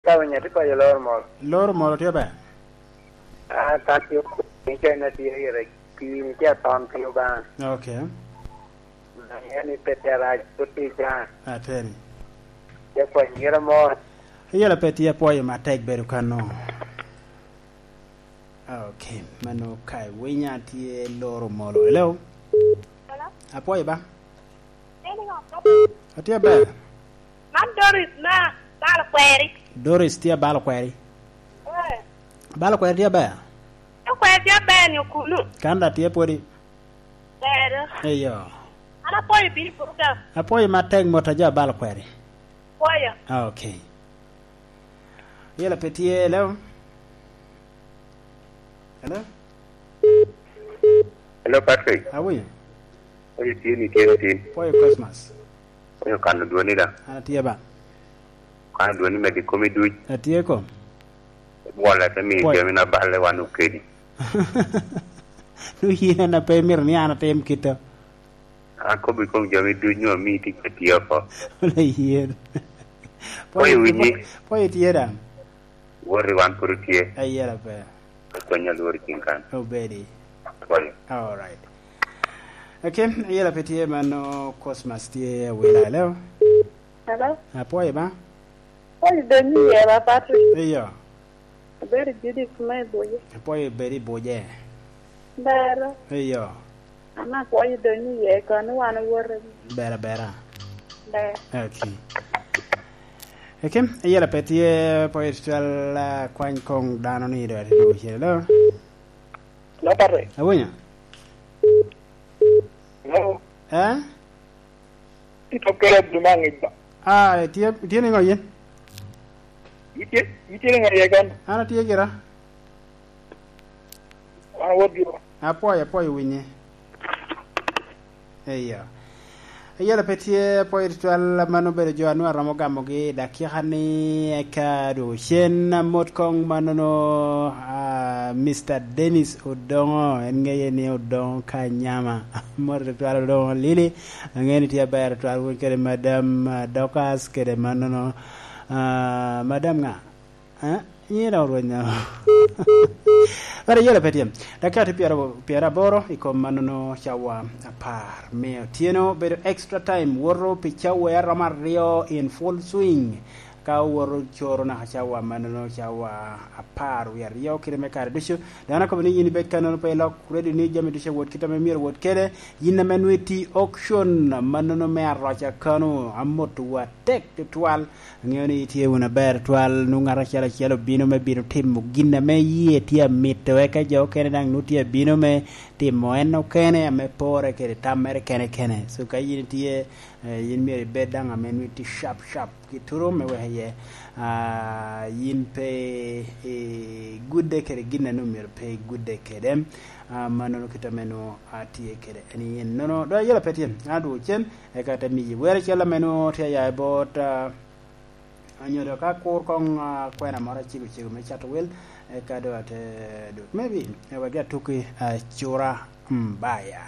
Ka winyo atye paco loro mol. Loro mol tye ber. Ah, ka tye ni kene tye ire pii ni tye aton pi Lubanga. Okay. Angeyo ni pe tye rac pud tye icanga. Ateni. Tye pwony gira mo. Yela pe tye apwoyo matek bedo kano. Okay, mano kai winya tye loro molo. Hello. Hello. Apwoyo ba. Atye ber. Man Doris ma balo kweri. Doris tye balo kweri. Eh. Balo kweri tye ber. Kweri tye ber ni okunu. Kanda tye pwodi. Ber. Eyo. An apwoyo bino i program. Apwoyo matek mot ajo abalo kweri. Pwoyo. Okay. Yela pe tye, hello. Hello. Hello Patrick. Awinyo. Oyo tye ni tye tin. Pwoyo Christmas. Oyo kano dwoni da. An atye ba. Kano dwoni medo i komi duc. Atye ko. Bwola te miyo jami na balle wan okedi. Nongo in aye pe imito ni an atim kit-to. Akobo i kom jami duc nyo amiyi tic me tiyo oko. Layen. Pwoyo winyi. Pwoyo tye dang. Woti wan pud otye. Ayera pe. Okonya lworo i ceng kan. Obedi. Pwoyo. Alright. Okay, ayera pe tye ma nongo Cosmas tye awila. Hello. Hello. Apwoyo ba. Pwoyo donyo iye ba Patrick. Iyo. Abedo Judith ma i Buce. Apwoyo ibedo i Buce. Bero. Iyo. An apwoyo donyo iye koni wan owote. Ber abera. Ber. Okay. Okay, ayela pe tye pwoyo tutwal kwany kong dano ni do ati dwogo cen. Hello. Hello Patrick. Awinyo. Hello. Eh? Ito kelo duma ngi ba. Ah, tye tye ni ngo yin? Itye itye ni ngo ye kon? An atye gira. Wan wot giwa. Apwoyo apwoyo winye. Eyo. Ayela pe tye apwoyo tutwal ma nongo obedo jo anwo aromo gamogi i dakika ni eka dwogo cen mot kong ma nongo Mister Dennis Odongo en ngeye ni Odongo Kanyama mot tutwal Odongo Lili angeyo ni tye aber tutwal wun kede Madam Dorcas kede ma nongo Madam nga? Nyinge dong orwenyo. But ayela pe tye. Dakika tye pyeraboro i kom ma nono cawa apar me otyeno. Bedo extra time woto pi cawa aromo aryo in full swing. Ka owoto coro naka cawa ma nono cawa apar wiye aryo kite me kare ducu. Dano akobo ni in ibed ka nono pe ilok radio ni jami ducu owot kite ma myero owot kede. In ame nongo iti auction ma nono me aroca kanu amoto wa tek tutwal. Angeyo ni itye wunu aber twal, nongo ngat acel acel obino me bino timo gin ame iye tye amito, eka jo okene dang nongo tye abino me timo en okene ame pore kede tam mere kene kene. So ka in itye, in myero ibed dang ame nongo itye sharp sharp ki turu me weko iye in pe igudde kede gin ame nongo myero pe igudde kede. Ma nongo kit ame nongo atye kede en in. Nono dong ayela pe tye, an adwogo cen. Eka te miyi wer acel ame nongo tye aya bot anyodo ka akur kong kwena moro acego cego me cato wil eka dong ate dut maybe wek atuki cura mbaya.